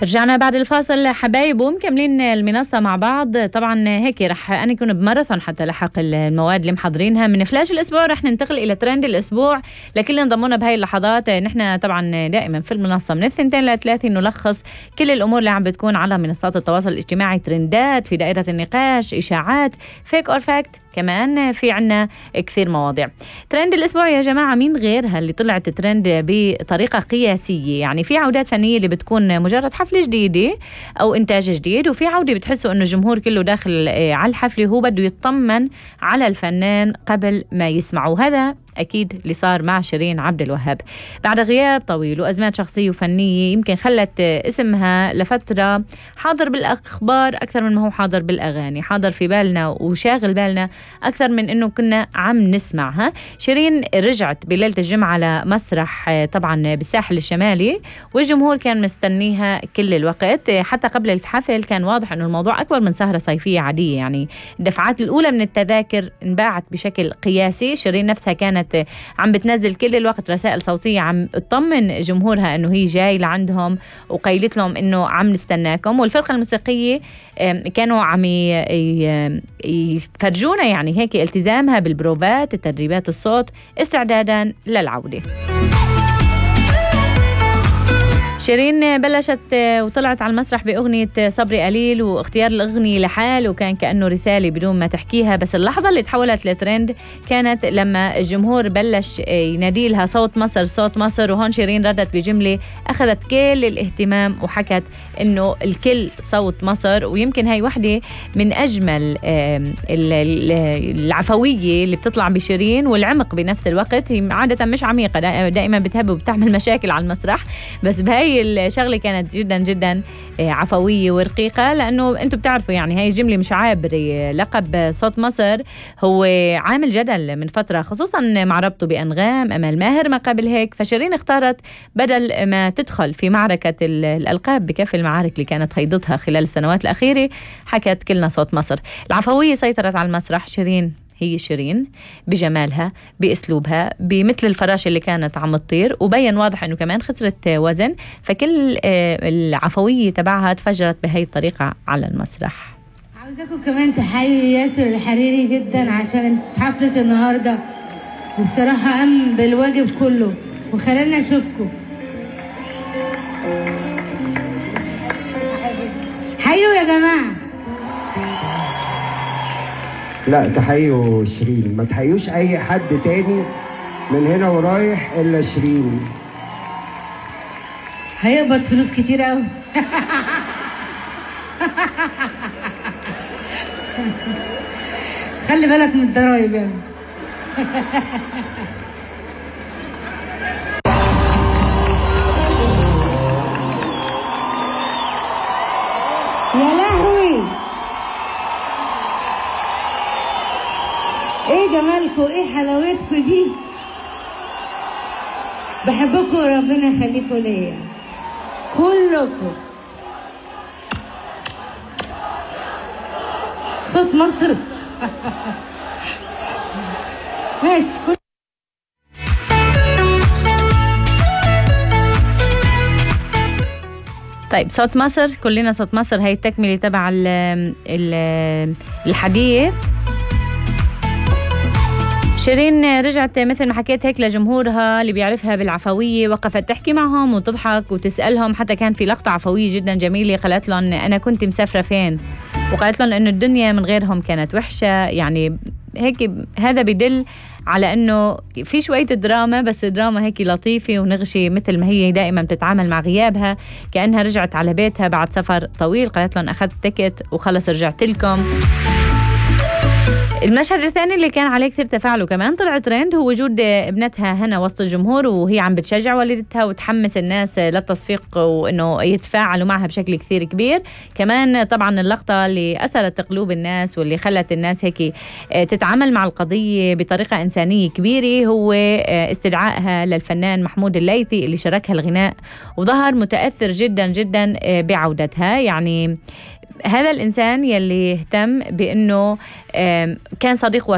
رجعنا بعد الفاصل حبايب ومكملين المنصة مع بعض. طبعا هيك رح أنا يكون بماراثون حتى لحق المواد اللي محضرينها. من فلاش الأسبوع رح ننتقل إلى ترند الأسبوع. لكل انضمونا بهاي اللحظات نحن طبعا دائما في المنصة من 2 ل3 نلخص كل الأمور اللي عم بتكون على منصات التواصل الاجتماعي، ترندات في دائرة النقاش، إشاعات، فيك أور فاكت، كمان في عنا كثير مواضيع. ترند الأسبوع يا جماعة مين غيرها اللي طلعت ترند بطريقة قياسية؟ يعني في عودات فنية اللي بتكون مجرد حفلة جديدة أو إنتاج جديد، وفي عودة بتحسوا إنه الجمهور كله داخل على الحفلة هو بده يطمن على الفنان قبل ما يسمعوا. هذا أكيد اللي صار مع شيرين عبد الوهاب بعد غياب طويل وأزمات شخصية وفنية يمكن خلت اسمها لفترة حاضر بالأخبار أكثر من ما هو حاضر بالأغاني، حاضر في بالنا وشاغل بالنا أكثر من إنه كنا عم نسمعها. شيرين رجعت بليلة الجمعة على مسرح طبعا بالساحل الشمالي، والجمهور كان مستنيها كل الوقت. حتى قبل الحفل كان واضح إنه الموضوع أكبر من سهرة صيفية عادية، يعني الدفعات الأولى من التذاكر انباعت بشكل قياسي. شيرين نفسها كانت عم بتنزل كل الوقت رسائل صوتية عم تطمن جمهورها إنه هي جاي لعندهم، وقيلت لهم إنه عم نستناكم. والفرقة الموسيقية كانوا عم يفرجونا يعني هيك التزامها بالبروفات، التدريبات الصوت استعدادا للعودة. شيرين بلشت وطلعت على المسرح بأغنية صبري قليل، واختيار الأغنية لحال وكان كأنه رسالة بدون ما تحكيها. بس اللحظة اللي تحولت لترند كانت لما الجمهور بلش ينادي لها صوت مصر صوت مصر، وهون شيرين ردت بجملة أخذت كل الاهتمام وحكت إنه الكل صوت مصر. ويمكن هاي وحدة من أجمل العفوية اللي بتطلع بشيرين والعمق بنفس الوقت. هي عادة مش عميقة، دائما بتهب وبتعمل مشاكل على المسرح، بس بهاي الشغلة كانت جدا جدا عفوية ورقيقة، لأنه أنتم بتعرفوا يعني هاي الجملة مش عابرة. لقب صوت مصر هو عامل جدل من فترة، خصوصا مع ربطه بأنغام أمال ماهر ما قبل هيك. فشيرين اختارت بدل ما تدخل في معركة الألقاب بكافة المعارك اللي كانت هيضتها خلال السنوات الأخيرة، حكت كلنا صوت مصر. العفوية سيطرت على المسرح. شيرين هي شيرين بجمالها بأسلوبها بمثل الفراشة اللي كانت عم تطير، وبين واضح أنه كمان خسرت وزن، فكل العفوية تبعها تفجرت بهاي الطريقة على المسرح. عاوزاكم كمان تحيوا ياسر الحريري جدا عشان حفلة النهاردة، وبصراحة قام بالواجب كله وخلالنا نشوفكم. حيوا يا جماعة. لا تحيوا شيرين، ما تحيوش اي حد تاني من هنا ورايح الا شيرين. هيقبض فلوس كتير قوي. خلي بالك من الضرايب يا ابني. يا لهوي ايه جمالكم، ايه حلاوتكم دي. بحبكم وربنا يخليكم ليا كلكم. صوت مصر. ماشي. طيب صوت مصر، كلنا صوت مصر، هي التكملة تبع الحديث. شيرين رجعت مثل ما حكيت هيك لجمهورها اللي بيعرفها بالعفوية، وقفت تحكي معهم وتضحك وتسألهم. حتى كان في لقطة عفوية جدا جميلة، قالت لهم أنا كنت مسافرة فين، وقالت لهم إنه الدنيا من غيرهم كانت وحشة. يعني هيك هذا بدل على إنه في شوية دراما، بس دراما هيك لطيفة ونغشي مثل ما هي دائما بتتعامل مع غيابها، كأنها رجعت على بيتها بعد سفر طويل. قالت لهم أخذت تيكت وخلص رجعت لكم. المشهد الثاني اللي كان عليه كثير تفاعل وكمان طلع ترند هو وجود ابنتها هنا وسط الجمهور، وهي عم بتشجع والدتها وتحمس الناس للتصفيق وانه يتفاعلوا معها بشكل كثير كبير. كمان طبعا اللقطة اللي أثرت قلوب الناس واللي خلت الناس هيك تتعامل مع القضية بطريقة إنسانية كبيرة هو استدعائها للفنان محمود الليثي اللي شاركها الغناء، وظهر متأثر جدا جدا بعودتها. يعني هذا الإنسان يلي اهتم بأنه كان صديق